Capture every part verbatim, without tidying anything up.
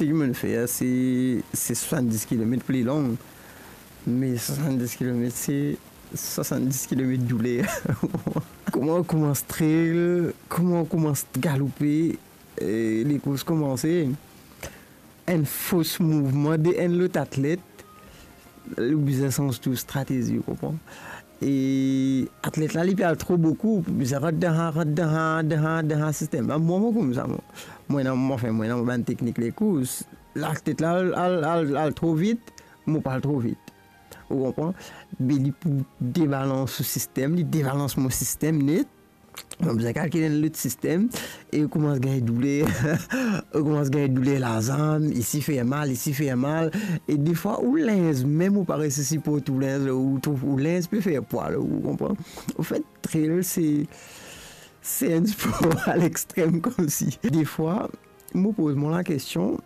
Seki mo'nn fer, se, se swasanndis kilomet pli long, me swasanndis kilomet, se swasanndis kilomet douler. Kouma ou koumans trail, kouma ou koumans galoupe, e, lekours koumanse, enn fos mouvman de enn lot atlet, ou bizin sanz tou stratezi, ou konpran? E atlet la, li pe al tro boukou, bizin rant dan, rant dan, dan, dan sistem la. Mwa, mo koumsa, mwa. Mwa ena, mwa, anfin, mwa ena bann teknik lekours. Atlet la al, al, al, al tro vit, mo pa al tro vit. Ou konpran? Be li pou debalans ou sistem, li debalans mo sistem net. Mo bizin kalkil enn lot sistem, e ou koumans gagn douler, ou koumans gagn douler lazam, isi fer mal, isi fer mal, e defwa ou linz mem ou pa resi siport ou linz, ou trouv ou linz pe fer pwa, ou konpran? Anfet, trail, se, se enn spor a lextrem koumsi. Defwa, mo poz mwa lakestion,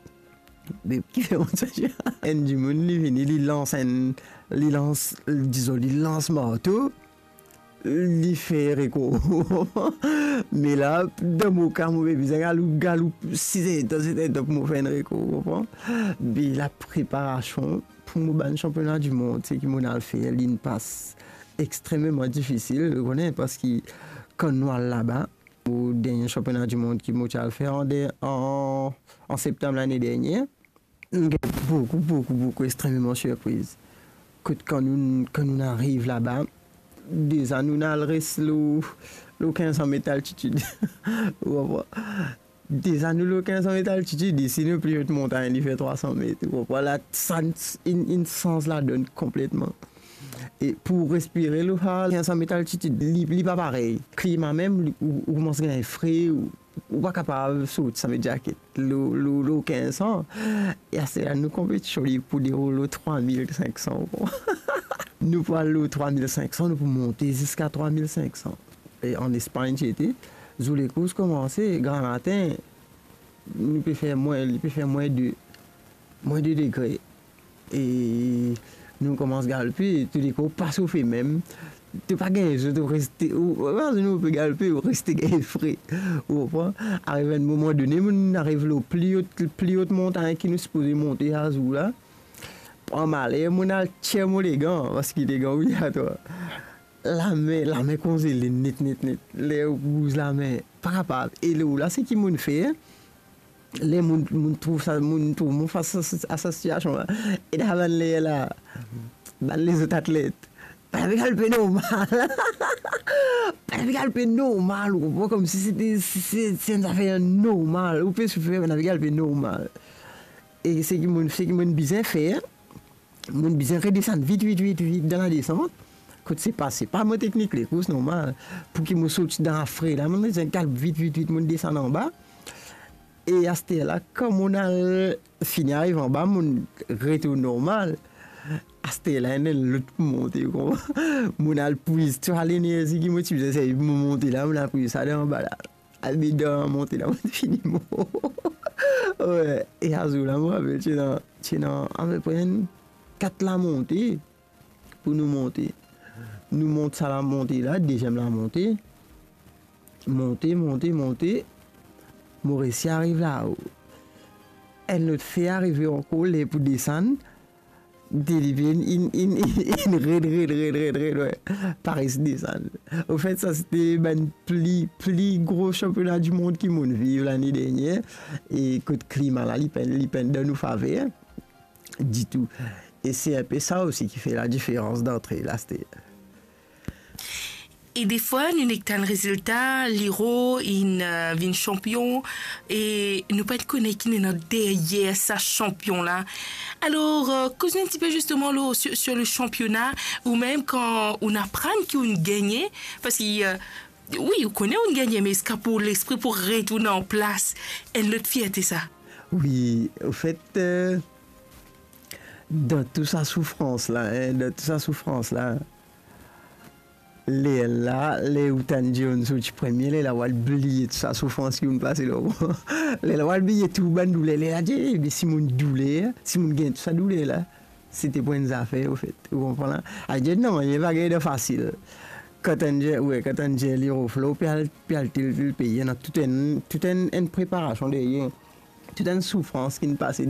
be, kifer mo ti dir? Enn dimoun, li vini, li lans enn, li lans, dizon, li lans marto, li fer rekor. Me la, dan mo ka, mo pe bizin galoup, galoup sis er tan, set er tan pou mo fer enn rekor, ou konpran? Be lapreparasion pou mo bann sanpiona dimond, seki mo'nn al fer, li'nn pas extrememan difisil, ou kone, parski kan nou al laba, mo dernie sanpiona dimond ki mo ti al fer an de-, an, an septam lane dernie, nou gagn boukou, boukou, boukou, extrememan sirpriz. Kot kan nou, kan nou ariv laba, deza nou al res lor, lor kinz san met altitid. Ou konpran? Deza nou lor kinz san met altitid, isi nou pli ot montagn, li fer trwa san met. Ou konpran? La, sa inn, inn sanz ladonn konpletman. E pou respire lor sa kinz san met altitid, li, li pa parey. Klima mem, li, ou, ou koumans gagn fre, ou, ou pa kapav sorti san met zaket. Lor, lor, lor kinz san, e aster la nou konpetision li pou deroul lor trwa mil sink san. Nou pou al lor trwa mil sink san, nou pou monte ziska trwa mil sink san. E an Espagn ti ete, zour lekours koumanse, gramatin, nou pe fer mwin, li pe fer mwin de, mwin de degre. E nou koumans galoupe, toulekou pa sofe mem. To pa gagn zot, ou reste, ou, ou, ou pe galoupe, ou reste gagn fre. Ou konpran? Ariv enn moman done, mo'nn ariv lor pli ot, pli ot montagn ki nou sipoze monte sa zour la. Pran maler, mo'nn al tir mo legan, parski legan obligatwar. Lame, lame konzele net, net, net. Ler ou bouz lame, pa kapav. E lor la, seki mo'nn fer, ler mo'nn, mo'nn trouv sa, mo'nn trouv mo fas a sa, a sa sitiasion la. E dan bann ler la, bann lezot atlet, bann pe galoupe normal. Bann pe galoupe normal, ou konpran, koumsi se, se, se enn zafer normal. Ou pe soufer, bann pe galoupe normal. E seki mo'nn, seki mo'nn bizin fer, mo'nn bizin redesann vit, vit, vit, vit dan ladesant. Kot se pa, se pa mo teknik lekours normal. Pou ki mo sorti dan lafre la, mo'nn bizin galoup vit, vit, vit, mo'nn desann anba. E aster la, kan mo'nn al fini ariv anba, mo'nn retourn normal. Aster la, ena enn lot pou monte, ou konpran? Mo'nn al pwiz tou sa lenerzi ki mo ti bizin servi pou mo monte la, mo'nn al pwiz sa dan anba la. Abidan monte la, mo'nn fini mor. Wi, e azour la, mo rapel, ti ena, ti ena apepre enn kat lamonte pou nou monte. Nou mont sa lamonte la, deziem lamonte. Monte, monte, monte. Mo resi ariv lao. Enn lot fer arive ankor, ler pou desann. Delivre inn, inn, inn, inn red, red, red, red, red, wi. Pa resi desann. Anfet, sa sete bann pli, pli gro sanpiona dimond ki mo'nn viv lane dernie. E kot klima la, li pa'nn, li pa'nn dan nou faver ditou. E se inpe sa osi ki fer ladiferans dan trail aster. E defwa, nou nek tann rezilta, Liro inn, eh, vinn sanpion, e nou pa kone ki ena deryer sa sanpion la. Alor, eh, koz nou enn tipe zisteman lor, sur, sur le sanpiona, ou mem kan ou'nn aprann ki ou'nn gagne, parski, eh, wi, ou kone ou'nn gagne, me eski pou lespri pou retourn an plas, enn lot fierte sa? Wi, anfet, eh, dan tou sa soufrans la, en, dan tou sa soufrans la, lerla, ler ou tann dir ou'nn sorti premie, lerla ou al bliye tou sa soufrans ki ou'nn pase lor. Lerla ou al bliye tou bann douler, lerla dir, "Eh, be si mo'nn douler, si mo'nn gagn tou sa douler la, sete pou enn zafer, anfet." Ou konpran la? Adir, non, li pa gagn dan fasil. Kan tann dir, wi, kan tann dir Liro Flo, pe al, pe al tel, tel pei, ena tou enn, tou enn, enn preparasion deryer. tou enn soufrans ki'nn pase